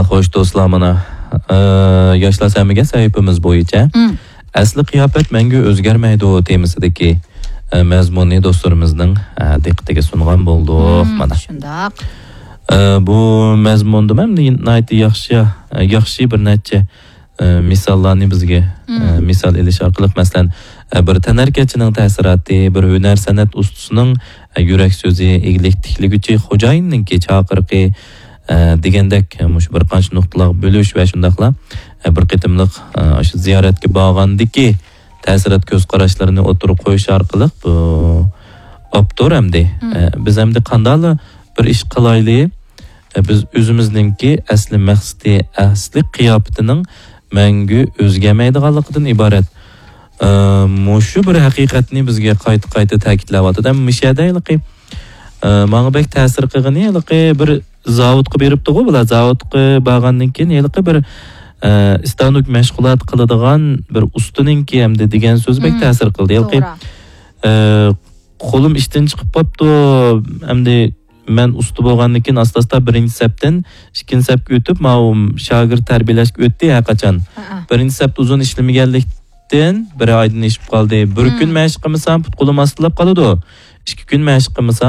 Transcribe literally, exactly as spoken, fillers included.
خوش دوستلار، مانا، ئە، ياشلار سەمىگە سەھىپىمىز بويىچە ئەسلى قىياپەت مەڭگۈ ئۆزگەرمەيدۇ تېمىسىدىكى، ئە، مەزمۇننى دوستلىرىمىزنىڭ، ئە، دىققىتىگە سۇنغان بولدۇق. مانا. شۇنداق. ئە، بۇ مەزمۇندا مەن ناھايىتى ياخشى، ئە، ياخشى بىر نەچچە، ئە، مىساللارنى بىزگە، ئە، مىسال ئېلىش ئارقىلىق، مەسىلەن، ئە، بىر تەنھەرىكەتچىنىڭ تەسىراتى، بىر ھۈنەر سەنئەت ئۇستىسىنىڭ، ئە، يۈرەك سۆزى، ئىگىلىك تىكلىگۈچى خوجايىننىڭكى چاقىرىقى، ئە، دېگەندەك، مۇشۇ بىر قانچە نۇقتىلارغا بۆلۈش ۋە شۇنداقلا، ئە، بىر قېتىملىق، ئە، شۇ زىيارەتكە بارغاندىكى تەسىرات كۆز قاراشلىرىنى ئوتتۇرىغا قويۇش ئارقىلىق بۇ ئاپتور ئەمدى، ئە، بىز ئەمدى قانداقلا بىر ئىش قىلايلى، ئە، بىز ئۆزىمىزنىڭكى ئەسلى مەقسىتى، ئەسلى قىياپىتىنىڭ مەڭگۈ ئۆزگەرمەيدىغانلىقىدىن ئىبارەت. ئە، مۇشۇ بىر ھەقىقەتنى بىزگە قايتا-قايتا تەكىتلەۋاتىدۇ. ھەم مۇشۇ يەردە ھېلىقى، ئە، ماڭا بەك تەسىر قىلغىنى، ھېلىقى بىر زاۋۇتقا بېرىپتىغۇ بۇلار. زاۋۇتقا بارغاندىن كېيىن ھېلىقى بىر، ئە، ئىستانوك مەشغۇلات قىلىدىغان بىر ئۇستىنىڭكى ئەمدى دېگەن سۆزى بەك تەسىر قىلدى. ھېلىقى، توغرا. ئە، قولۇم ئىشتىن چىقىپ قاپتۇ. ئەمدى مەن ئۇستا بولغاندىن كېيىن ئاستا-ئاستا بىرىنچى سەپتىن ئىككىنچى سەپكە ئۆتۈپ، ماۋۇ شاگىرت تەربىيەلەشكە ئۆتتى ھەرقاچان. ھەئە. بىرىنچى سەپتە ئۇزۇن ئىشلىمىگەنلىكتىن بىر ئايدىن ئېشىپ قالدى. بىر كۈن مەشىق قىلمىسام، پۇت-قولۇم ئاستىلاپ قالىدۇ. ئىككى كۈن مەشىق قىلمىسام،